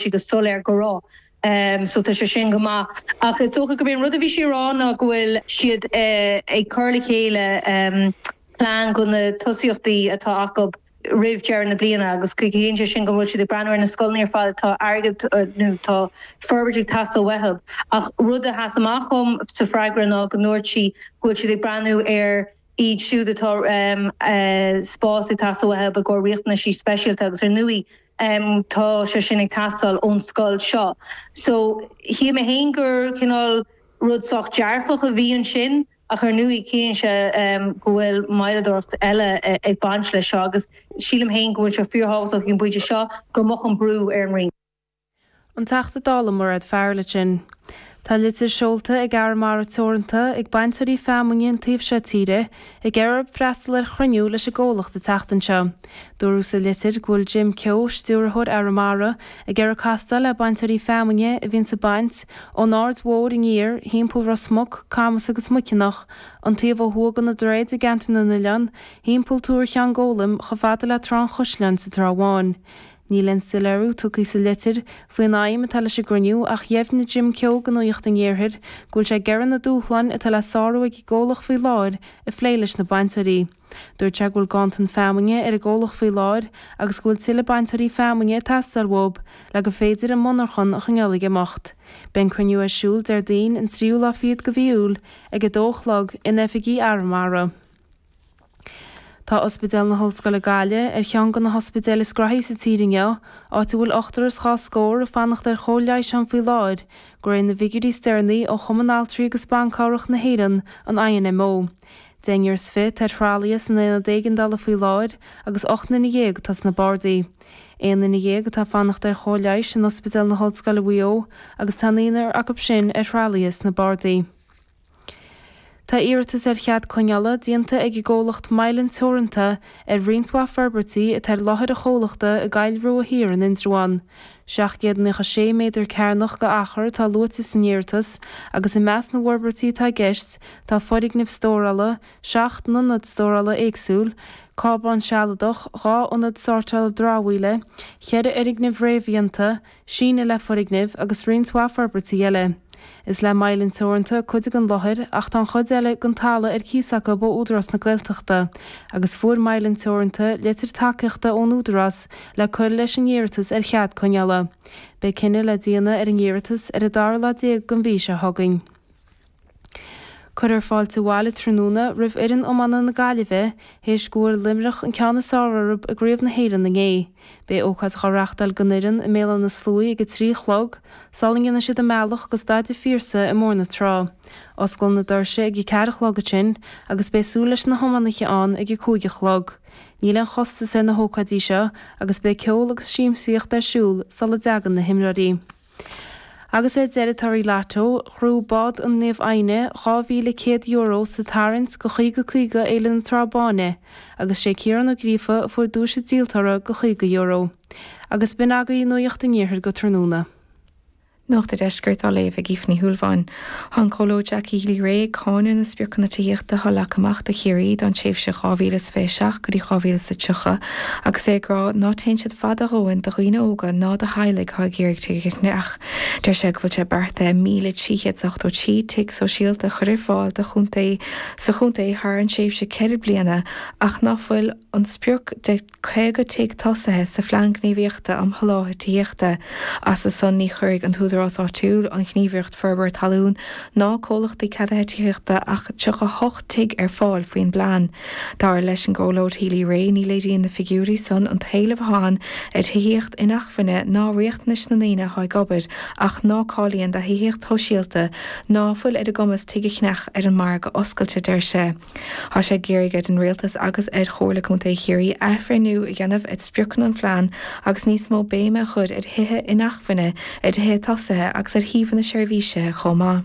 sí go soiléir go raibh. So tá sé sin go maith. Ach is dócha gurb é an rud a bhí sí a rá ná go bhfuil siad ag cur le chéile plean go na tosaíochtaí atá acu roimh deireadh na bliana agus ciallaíonn sé sin go bhfuil siad ag breathnú ar na scoileanna ar fad atá airgead nó tá forbairt ag teastáil uathu. Ach rud a sheas amach dhom sa freagra ná go ndúirt sí go bhfuil siad ag breathnú ar iad siúd atá spás ag teastáil uathu i gcomhair riachtanaisí speisialta agus ar ndóigh tá sé sin ag teastáil ón scoil seo. So shíl mé féin gur cineál rud sách dearfach a bhí ansin. Ach ar ndóigh, ciallaíonn sé go bhfuil moilleadóireacht eile ag baint leis seo agus sílim féin go bhfuil sé fíorthábhachtach ag an bpointe seo go mbeadh an brú ar an Roinn. An Teachta Dála Mairéad Farrell ansin. Tá litir seolta ag Arramara Teoranta ag bainteoirí feamainne an taobh seo tíre ag iarraidh orthu freastal ar chruinniú leis an gcomhlacht an tseachtain seo. Dúradh sa litir go bhfuil Jim Keogh, Stiúrthóir Arramara, ag iarraidh castáil le bainteoirí feamainne a bhíonns ag baint ón Aird Mhóir aniar, thimpeall Ros Muc, Camas agus Muiceanach, an taobh ó thuaidh de na droichid i gCeantar na nOileán, thimpeall Túr Cheann Gólaim chomh fada le Trá an Chaisleáin sa Trá Bháin. Níl aon soiléiriú tugtha sa litir faoin aidhm atá leis an gcruinniú ach dheimhnigh Jim Keogh do Nuacht an Iarthair go bhfuil sé ag iarraidh na dúshláin atá le sárú ag an gcomhlacht faoi láthair a phlé leis na bainteoirí. Dúirt sé go bhfuil ganntan feamainne ar an gcomhlacht faoi láthair agus go bhfuil tuilleadh bainteoirí feamainne ag teastáil uathu le gur féidir an monarchan a choinneáil ag imeacht. Beidh an cruinniú ar siúl Déardaoin an tríú lá fichead de mhí Iúil ag a dó a chlog in oifigí Arramara. Tá Ospidéal na hOllscoile Gaillimh ar cheann de na hospidéil is graithí sa tír inniu, áit a bhfuil ochtar is dhá scór ag fanacht ar chóir leighis ann faoi láthair, de réir na bhfigiúirí is deireanaí ó Chumann Altraí agus Ban Cabhrach na hÉireann, an INMO. Deichniúr is 20 atá ar thralaithe san aonad éigeandála faoi láthair agus 18 nduine atá sna bardaí. Aon duine dhéag atá ag fanacht ar chóir leighis in Ospidéal na hOllscoile Mhaigh Eo agus tá naonúr acu sin ar thralaithe sna bardaí. Tá iarratas ar chead coinneála déanta ag an gcomhlacht Mylan Teoranta ar roinnt mhaith forbairtí atá ar láthair an chomhlachta i gCoill Rua Thiar in Indreabhán. 796 méadar cearnach de achar atá luaite san iarratas agus i measc na bhforbairtí atá i gceist tá foirgneamh stórála, 7 n-ionad stórála éagsúil, cábán sealadach, 2 ionad sórtála dramhaíola, 4 fhoirgneamh réamhdhéanta, síneadh le foirgnimh agus roinnt mhaith forbairtí eile. Is le Mylan Teoranta cuid den láthair ach tá an chuid eile den talamh ar cíos acu ó Údarás na Gaeltachta agus fuair Mylan Teoranta litir tacaíochta ón Údarás le cur leis an iarratas ar chead coinneála. Beidh cinneadh le déanamh ar an iarratas ar an dara lá den mhí seo chugainn. Cuirfear fáilte abhaile tráthnóna roimh fhoireann iomána na Gaillimhe théis go bhfuair Luimneach an ceann is fearr orthu i gCraobh na hÉireann inné. Beidh ócáid dhá reachtáil don fhoireann i mBéal Átha na Sluaighe ag 3 a chlog, sula ndéanfaidh siad a mbealach go Staid an Phiarsaigh i mBóthar na Trá. Osclóidh na doirse ag 4 a chlog ansin agus beidh súil leis na hiománaithe ann ag 5 a chlog. Níl aon chostas ar na hócáidí seo agus beidh ceol agus siamsaíocht ar siúl sula dtagann na himreoirí. Agus ar deireadh torthaí Lotto, ghnóthaigh bád an Naomh Adhna €2,100 sa tarraingt go 50 50 Fhéile na Trá Báine agus sé Ciarán Ó Gríofa a fuair duais an díoltóra go €50. Agus b'in agaibh Nuacht an Iarthair go tráthnóna. Nuacht an Deiscirt á léamh ag Aoife Ní Shúilleabháin. Tá an Comhairleoir Jackie Healy-Rae ag cáineadh na spriocanna tithíochta atá leagtha amach do Chiarraí don tréimhse 2027 go dtí 2030 agus é ag rá ná téann siad fada a dhóthain do dhaoine óga ná do theaghlaigh atá ag iarraidh tigh a cheannach. Deir sé go bhfuil sé beartaithe 1,383 tigh sóisialta a chur ar fáil do chontae sa chontae thar an tréimhse ceithre bliana ach ná fuil an sprioc de 50 tigh tosaithe sa Phlean Gníomhaíochta um Sholáthar Tithíochta. As a son ní chuirfidh an t-údarás áitiúil, an Ghníomhaireacht Forbartha Talún ná comhlachtaí ceadaithe tithíochta ach 38 tigh ar fáil faoin bplean. Dar leis an gComhairleoir Healy-Rae, ní léiríonn na figiúirí san an t-éileamh atá ann ar thithíocht inacmhainne ná riachtanais na ndaoine atá ag obair ach ná cáilíonn do thithíocht shóisialta ná fuil ar a gcumas tigh a cheannach ar an margadh oscailte, deir sé. Tá sé ag iarraidh ar an Rialtas agus ar Chomhairle Contae Chiarraí athbhreithniú a dhéanamh ar spriocanna an phlean agus níos mó béime a chur ar thithe inacmhainne, ar thithe tosaithe agus ar shuíomhanna seirbhísithe chomh maith.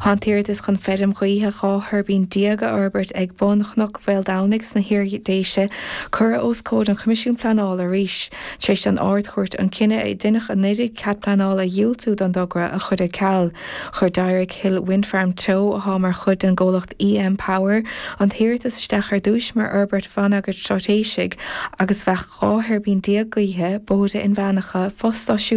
Tá an t-iarratas chun feirm ghaoithe 12 thuirbín a fhorbairt ag bun Chnoc Mhaoldomhnaigh sna hIar-Dhéise curtha os comhair an Choimisiúin Pleanála arís, tar éis don Ard-Chúirt an cinneadh a deineadh anuraidh cead pleanála a dhiúltú don dtogra a chur ar ceal. Chuir Dyrick Hill Wind Farm Teo, atá mar chuid den gcomhlacht EM Power, an t-iarratas isteach ar dtúis mar fhorbairt bhonneagair straitéisigh agus bheadh 12 thuirbín gaoithe, bóithre inmheánacha, fostáisiún.